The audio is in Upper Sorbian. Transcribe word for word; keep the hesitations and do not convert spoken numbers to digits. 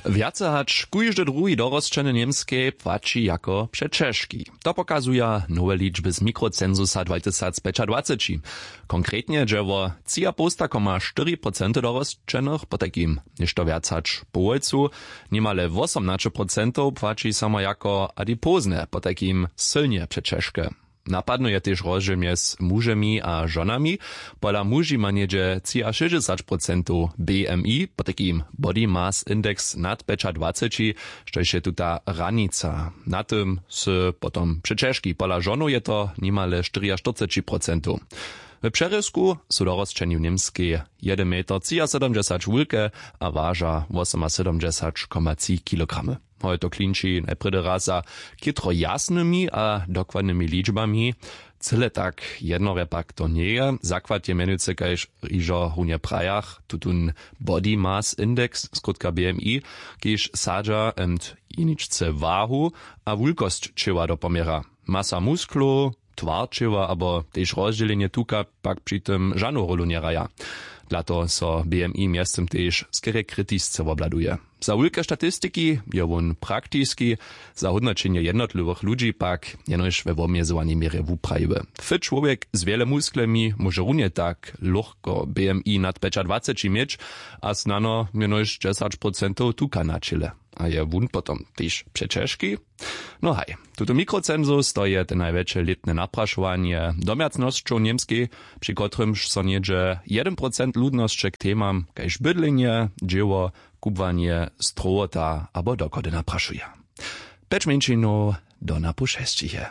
Wjace hač kóždy druhi dorosćeny w němskej płaći jako přećežki. To pokazuja nowe ličby z mikrocensusa dwatysacpjećadwaceći. Konkretnje dźe wo třiapołsta koma štyri procenty dorosćenych, potajkim něšto wjac hač połojcu. Nimale wosomnaće procentow płaći samo jako adipozne, potajkim sylnje přećežke. Napadny je tež rozdźěl mjez mužemi a žonami. Pola muži ma něhdźe třiašěsćdźesać procentow bmi, potajkim body mass index nad pjećadwaceći, štož je tuta hranica. Na tym sy potom přećežki. Pola žonow je to nimale štyriaštyrceći procentow. W přerězku su dorosćeni w němskej jedyn meter třiasydomdźesać wulke a waža wosomasydomdźesać koma tři kilogramy. Hoj, to klinči najprjedy raz za chětro jasnymi a dokładnymi ličbami. Cyle tak jednorje pak to njeje. Zakład je mjenujcy, kaž hižo runje prajach, tutón body mass index, skrótka bmi, kiž sadźa ent jeničce wahu a wulkosć ćěła do poměra. Masa musklow, twar ćěła abo tež rozdźělenje tuka pak při tym žanu rólu njehraja. Dla toho so bmi mjeztym tež skerje kritisce wobhladuje. Za wulke statistiki je wón praktiski, za hódnoćenje jednotliwych ludźi pak jenož we wobmjezowanej měrje wuprajiły. Fit čłowjek z wjele musklemi móže runje tak lóchko bmi nad pjećadwaceći měć a snano jenož dźesać procentow tuka na ćěle. A je wón potom tež přećežki? No haj, tuto mikrocensus to je te najwjetše lětne naprašowanje domjacnosćow w němskej, při kotrymž so něhdźe jedyn procent ludnosće k temam kaž bydlenje, dźěło, kubłanje, strowota abo dochody naprašuje. Pjeć mjeńšinow do napoł šesćich je.